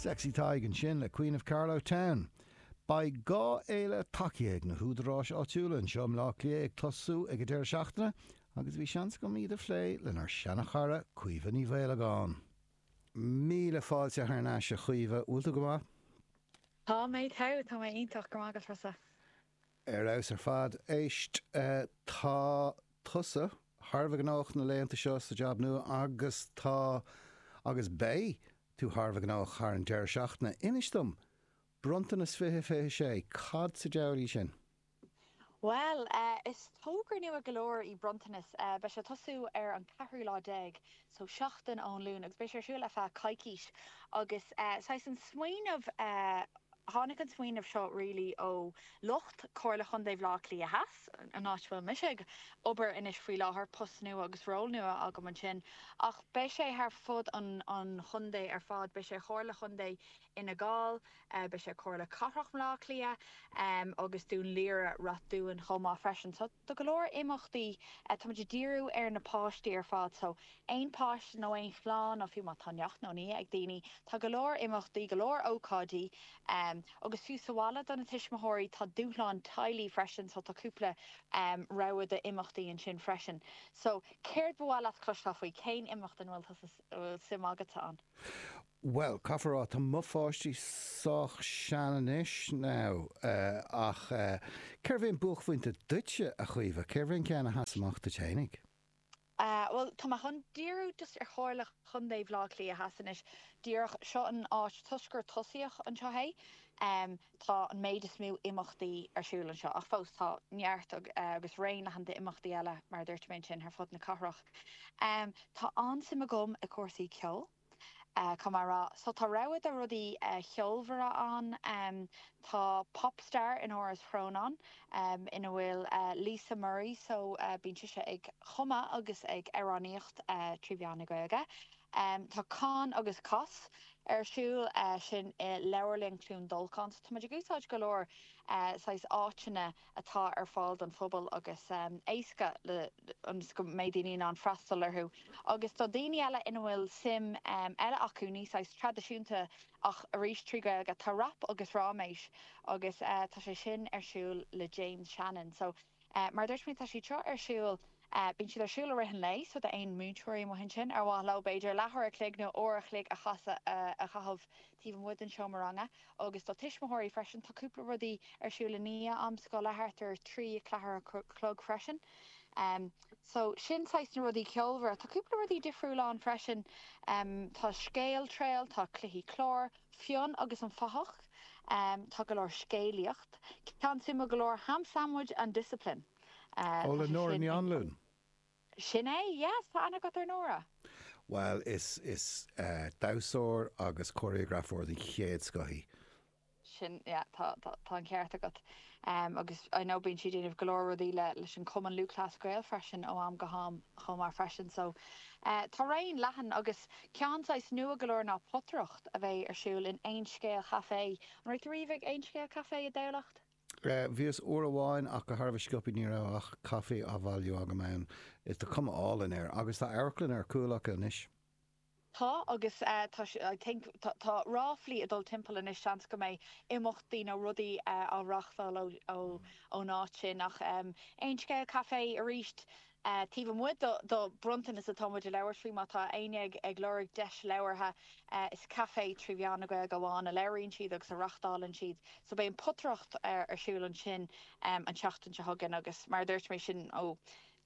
Sexy Tadhg ansin le Queen of Carlow Town. Beidh 2 fhéile tacaithe ag na húdaráis áitiúla anseo i mBleá Cliath ag tosú ag an deireadh seachtaine agus bhí seans agam iad a phlé lenár seana-chara Caoimhe Ní Mhaolagáin. Míle fáilte thar n-ais a Chaoimhe, bhfuil tú go maith? Tá mé togha, tá mé iontach, go raibh maith agat Rossa. Ar fheabhas ar fad. Éist, tá tusa thar a bheith gnóthach na laethanta seo sa jab nua agus tá, agus beidh, tú thar a bheith gnóthach thar an deireadh seachtaine. Inis dom, Bronntanas 2026, cad sa diabhal í sin? Bhuel, is togra nua go leor í Bronntanas. Beidh sé ag tosú ar an ceathrú lá déag, so seachtain ón Luan, agus beidh sé ar siúl ar feadh coicís. Agus saghas an smaoineamh, tháinig an smaoineamh seo really ó lucht Comhairle Chontae Bhaile Átha Cliath Theas, an áit a bhfuil mise ag obair anois faoi láthair, post nua agus ról nua agam ansin. Ach beidh sé thar fud an chontae ar fad, beidh sé Chomhairle Chontae Fhine Gall, beidh sé Comhairle Cathrach Bhaile Átha Cliath agus Dún Laoghaire Rath Dúin chomh maith freisin. So tá go leor imeachtaí, tá muid ag díriú ar na páistí ar fad so aon páiste nó aon chlann nó fiú má tá neacht nó nia ag daoine, tá go leor imeachtaí, go leor ócáidí agus fiú sa bhaile do na tuismitheoirí tá dúshlán teaghlaigh freisin so tá cúpla rogha d'imeachtaí ansin freisin. So céard ba mhaith leat cloisteáil faoi? Cén imeacht ina bhfuil suim agatsa ann? Bhuel, caithfear a rá, tá mo pháistí sách sean anois now, ach cérbh é an buaicphointe duitse, a Chaoimhe? Cérbh é an ceann a sheas amach duit fhéinig? Bhuel, tá mé chun díriú just ar Chomhairle Chontae Bhaile Átha Cliath Theas anois. Díreach, seo an áit, toisc gur tosaíodh anseo é, tá an méid is mó imeachtaí ar siúl anseo, ach fós tá neart agus raon leathan d'imeachtaí eile, mar a dúirt mé ansin, ar fud na cathrach. Tá an-suim agam i gcúrsaí ceoil. Caithfidh mé a rá. So tá rogha de rudaí cheolmhara ann. Tá Popstar in Áras Chrónáin ina bhfuil Lisa Murray so bíonn sise ag cumadh agus ag amhránaíocht trí mheán na Gaeilge. Tá Con agus Cos ar siúl, sin i Leabharlann Chluain Dolcáin. So tá muid ag úsáid go leor saghas áiteanna atá ar fáil don phobal agus éasca le ionas go mbeidh daoine in ann freastal orthu. Agus do dhaoine eile ina bhfuil suim eile acu, ní saghas traidisiúnta ach arís trí Ghaeilge, tá Rap agus Ráiméis agus tá sé sin ar siúl le James Shannon. So mar a dúirt mé tá siad seo ar siúl, bíonn siad ar siúl i rith an lae so d'aon múinteoirí amuigh ansin ar mhaith leo b'fhéidir leathuair a chloig nó uair a chloig a a chaitheamh taobh amuigh den seomra ranga agus do tuismitheoirí freisin. Tá cúpla rudaí ar siúl i ndiaidh am scoile, thart ar 3, 4 a chlog freisin. So sin saghas na rudaí ceolmhara. Tá cúpla rudaí difriúla ann freisin. Tá Scéal Trail, tá cluichí cláir, Fionn agus an Fathach, tá go leor scéalaíocht. Ceann suimiúil go leor, Ham Sandwich and Discipline. Ó Tá le sé Nóra sin Ní ag. Anluain. Sin é, yes, tá aithne agat ar Nóra. Bhuel, is, is damhsóir agus cóiréagrafóir den chéad scoth í. Sin, yeah, tá, tá, tá an ceart agat. Agus I know bíonn sí ag déanamh go leor rudaí le, leis an Cumann Lúthchleas Gael freisin ó am go ham chomh maith freisin. So, tá raon leathan agus ceann saghas nua go leor ná potaireacht a bheidh ar siúl in Aon Scéal Café. An raibh tú riamh ag Aon Scéal Café i dTamhlacht? Bhíos uair amháin ach go thar a bheith sciobtha ní raibh ach caife á bhailiú agam ann. Tá cuma álainn air. Agus tá amharclann ar cúl acu anois. Tá agus tá I think tá ráflaí ag dul timpeall anois seans go mbeidh imeachtaí nó rudaí á reáchtáil ón áit sin ach Aon Scéal Café arís Taobh amuigh do Bronntanas atá muid ag labhairt faoi, má tá éinne ag lorg deis labhartha, is caifé trí mheán na Gaeilge amháin a labhraíonn siad agus a reáchtálann siad. So beidh an potaireacht ar siúl ansin an tseachtain seo chugainn agus mar a dúirt mé sin ó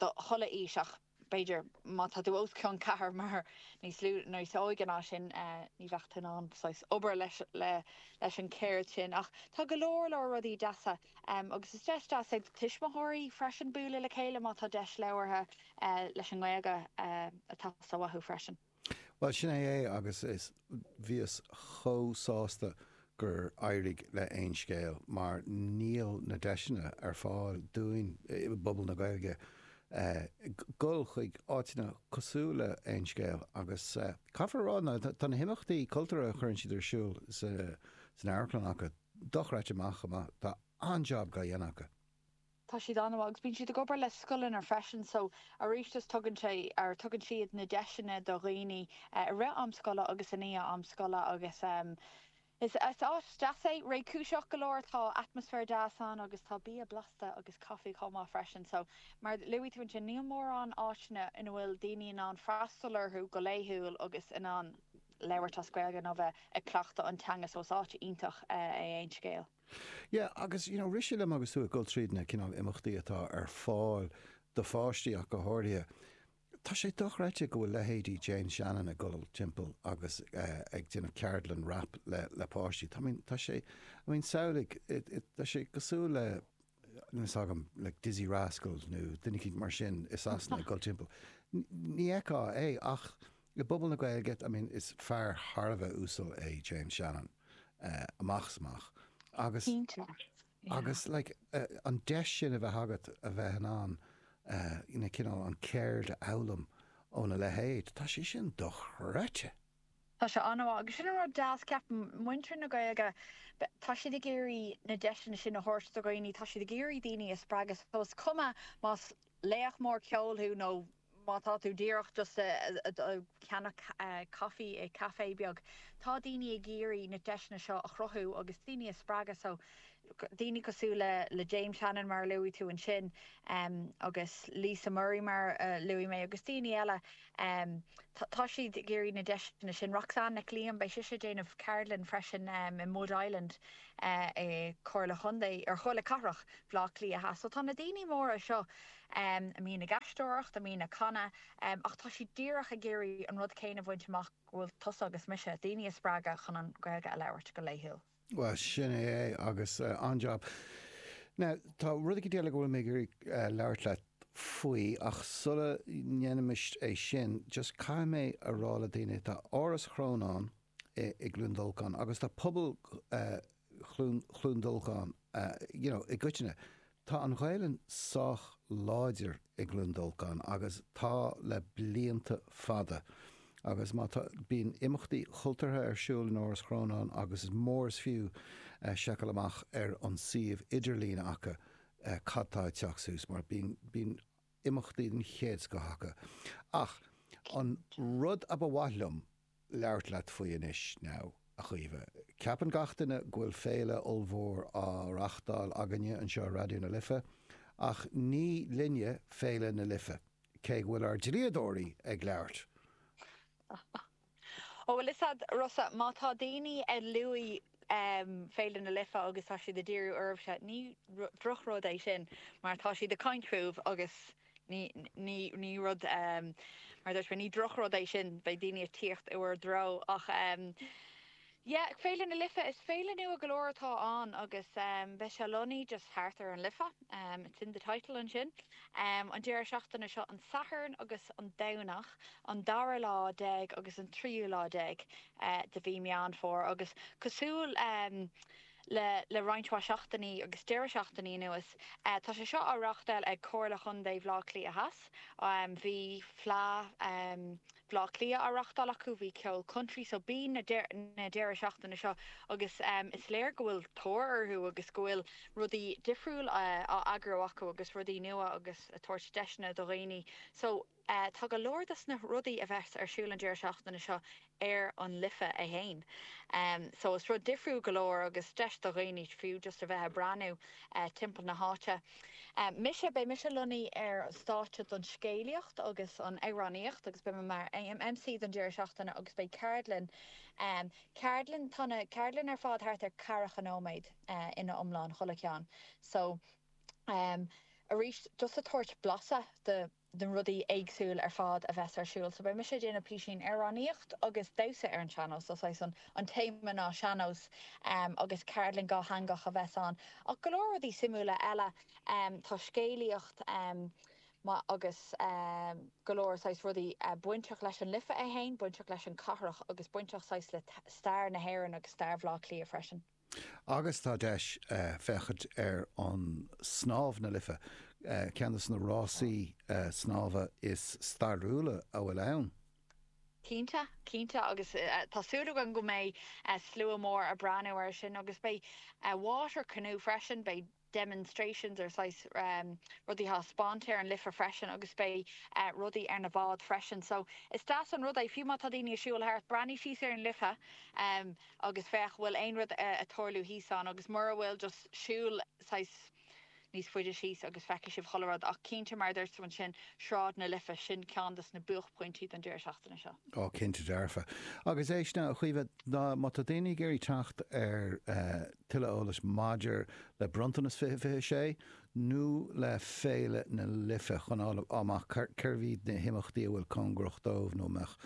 do chuile aois ach b'fhéidir má tá tú os cionn ceathair mar níos lú níos óige ná sin ní bheadh tú in ann saghas obair leis leis an cheird sin ach tá go leor leor rudaí deasa Agus is deis deas é do tuismitheoirí freisin bualadh le chéile má tá deis labhartha leis an nGaeilge ag teastáil uathu freisin. Bhuel, sin é é agus is, bhíos chomh sásta gur éirigh le Aon Scéal mar níl na deiseanna ar fáil dúinn i bpobal na Gaeilge dul chuig áiteanna cosúil le Aon Scéal agus caithfear a rá ná tá na himeachtaí cultúrtha a chuireann siad ar siúl san amharclann acu, dochreidte maith chomh maith. Tá an-jab dhá dhéanamh acu. Tá siad an-mhaith agus bíonn siad ag obair le scoileanna freisin so arís just tugann sé or tugann siad na deiseanna do dhaoine i rith am scoile agus i ndiaidh am scoile agus is is áit deas é, réchúiseach go leor, tá atmaisféar deas ann agus tá bia blasta agus caife chomh maith freisin so mar a luaigh tú ansin níl mórán áiteanna ina bhfuil daoine in ann freastal orthu go laethúil agus in ann labhairt as Gaeilge nó bheith ag cleachtadh an teanga so is áit iontach é Aon Scéal. Yeah, agus you know, rith sé liom agus tú ag dul tríd na cineál imeachtaí atá ar fáil do pháistí ach go háirithe, tá sé dochreidte go bhfuil leithéidí James Shannon ag dul timpeall agus ag déanamh ceardlann rap le le páistí. Tá, I mean, tá sé, I mean, samhlaigh, tá sé cosúil le, níl a fhios agam, like Dizzee Rascal nó duine eicínt mar sin i Sasana ag dul timpeall. Ní fheicfeá é ach i bpobal na Gaeilge, I mean, is fear thar a bheith uasal é James Shannon, amach is amach. Agus, Cinnte, yeah. agus like, an deis sin a bheith agat a bheith in ann you know, cineál an ceird a fhoghlaim óna leithéid, tá sé sin dochreidte! Tá sé an-mhaith agus sin an rud deas, ceapaim, muintir na Gaeilge, tá siad ag iarraidh na deiseanna sin a thabhairt do dhaoine, tá siad ag iarraidh daoine a spreagadh so is cuma más laoch mór ceoil thú nó má tá tú díreach just ag ceannach caife i café beag, tá daoine ag iarraidh na deiseanna seo a chruthú agus daoine a spreagadh so daoine cosúil le le James Shannon mar a luaigh tú ansin agus Lisa Murray mar a luaigh mé agus daoine eile tá siad ag iarraidh na deiseanna sin. Roxanne Nic Liam, beidh sise ag déanamh ceardlann freisin i Mud Island i Comhairle Chontae, or Chomhairle Cathrach Bhaile Átha Cliath Theas. So tá na daoine móra seo a mbíonn ag aisteoireacht, a mbíonn ag canadh, ach tá siad díreach ag iarraidh an rud céanna a bhaint amach go bhfuil tusa agus mise, daoine a spreagadh chun an Ghaeilge a labhairt go laethúil. Bhuel, sin é é, agus an-jab. Now, tá rud éicint eile go bhfuil mé ag iarraidh labhairt leat faoi, ach sula ndéanaimis é sin, just caithfidh mé a rá le daoine, tá Áras Chrónáin i gCluain Dolcáin agus tá pobal Chluain Dolcáin, you know, i gcoitinne, Tá an Ghaelainn sách láidir i gCluain Dolcáin agus tá le blianta fada. Agus má tá, bíonn imeachtaí chultúrtha ar siúl in Áras Chrónáin agus is mór is fiú seiceáil amach ar an suíomh idirlín acu cad tá ag teacht suas mar bíonn, bíonn imeachtaí den chéad scoth acu. Ach an rud a ba mhaith liom labhairt leat faoi anois now, a Chaoimhe. Ceapann gach duine go bhfuil féile ollmhór á reachtáil againne anseo i Raidió na Life, ach ní linne Féile na Life, cé go bhfuil ár dlíodóirí ag labhairt. Ó, bhuel, is ea, Rossa, má tá daoine ag luaigh Féile na Life agus tá siad ag díriú oraibhse, ní drochrud é sin, mar tá siad ag caint fúibh agus Ní, ní, ní rud, mar a dúirt mé, ní drochrud é sin, beidh daoine ag tíocht i bhur dtreo ach yeah, Féile na Life, is féile nua go leor atá ann agus beidh sé lonnaithe just thart ar an Life, it's in the title ansin. An deireadh seachtaine seo, an Satharn agus an Domhnach, an dara lá déag agus an tríú lá déag de mhí Meán Fómhair agus cosúil le le roinnt mhaith seachtainí agus deireadh seachtainí anuas. Tá sé seo á reáchtáil ag Comhairle Chontae Bhaile Átha Cliath Theas. Bhí Fleadh Bhaile Átha Cliath á reáchtáil acu, bhí ceol country so bíonn na na deireadh seachtaine seo agus is léir go bhfuil tóir orthu agus go bhfuil rudaí difriúil á eagrú acu agus rudaí nua agus ag tabhairt deiseanna do dhaoine. So. Tá go leor dos na rudaí a bheas ar siúl an deireadh seachtaine seo ar an Life é fhéin. So is rud difriúil go leor agus deis do dhaoine fiú just a bheith ag breathnú timpeall na háite. Mise, beidh mise lonnaithe ar an stáitse don scéalaíocht agus an amhránaíocht agus beidh mé mar MC don deireadh seachtaine agus beidh ceardlann, ceardlann, tá na ceardlann ar fad thart ar ceathracha nóiméad ina iomlán, chuile cheann. So arís just ag tabhairt blaiseadh de na rudaí éagsúil ar fad a bheas ar siúl. So beidh mise ag déanamh písín amhránaíocht agus damhsa ar an sean-nós, so saghas an an téama ná sean-nós agus ceardlann dhátheangach a bheas ann. Ach go leor rudaí suimiúla eile, tá scéalaíocht agus go leor saghas rudaí bainteach leis an Life é fhéin, bainteach leis an cathrach agus bainteach saghas le stair na hÉireann agus stair Bhaile Átha Cliath freisin. Agus tá deis féachaint ar an Snámh na Life, ceann de na rásaí snámha is stairiúla a bhfuil ann. Cinnte, cinnte, agus tá súil agam go mbeidh slua mór ag breathnú air sin agus beidh water canoe freisin, beidh. demonstrations or saghas rudaí á thaispeáint ar an Life freisin agus beidh rudaí ar na báid freisin. So is deas an rud é, fiú má tá daoine ag siúl thart, breathnaigh síos ar an Life agus féach bhfuil aon rud ag tarlú thíos ann agus mura bhfuil just siúl saghas níos faide síos agus feicfidh sibh chuile rud. Ach cinnte, mar a dúirt tú ansin, Sráid na Life, sin ceann des na buaicphointí don deireadh seachtaine seo. Ó, cinnte dearfa. Agus éist now, a Chaoimhe, má tá daoine ag iarraidh teacht ar tuilleadh eolais maidir le Bronntanas 2026 nó le Féile na Life chun fháil amach cérbh iad na himeachtaí a bhfuil cóngarach dóibh nó a mbeadh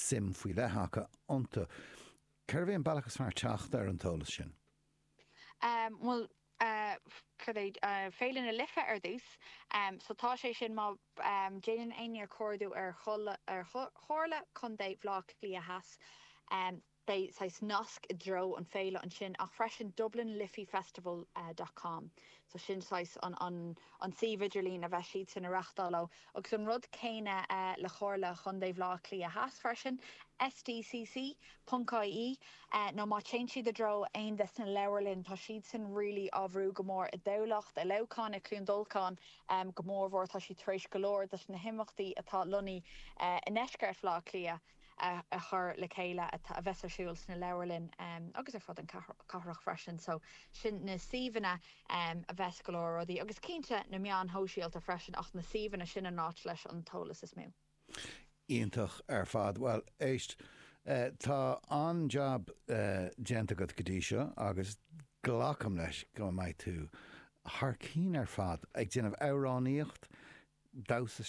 suim faoi leith acu iontu, cérbh é an bealach is fearr teacht ar an t-eolas sin? Bhuel, cad é, Féile na Life ar dtús. So tá sé sin má déanann éinne cuardú ar Chomhairle Contae Bhaile Átha Cliath Theas, beidh saghas nasc i dtreo an féile ansin ach freisin DublinLiffeyFestival dot com. So sin saghas an an suíomh idirlín a bheas siadsan a reachtáil ó. Agus an rud céanna le Comhairle Chontae Bhaile Átha Cliath Theas freisin, SDCC. Ponc ie, nó má téann siad i dtreo aon des na leabharlainn, tá siadsan really á bhrú go mór i dTamhlacht, i Leamhcán, i Cluain Dolcáin go mórmhór. Tá siad tar éis go leor des na himeachtaí atá lonnaithe i ndeisceart Bhaile Átha Cliath a chur le chéile a bheas ar siúl sna leabharlainn agus ar fud an cathrach freisin. So sin na suíomhanna a bheas go leor rudaí agus cinnte na meáin shóisialta freisin ach na suíomhanna sin an áit leis an t-eolas is mó. Iontach ar fad. Bhuel, éist, tá an-jab déanta agat go dtí seo agus glacaim leis go mbeidh tú thar cinn ar fad ag déanamh amhránaíocht, damhsa.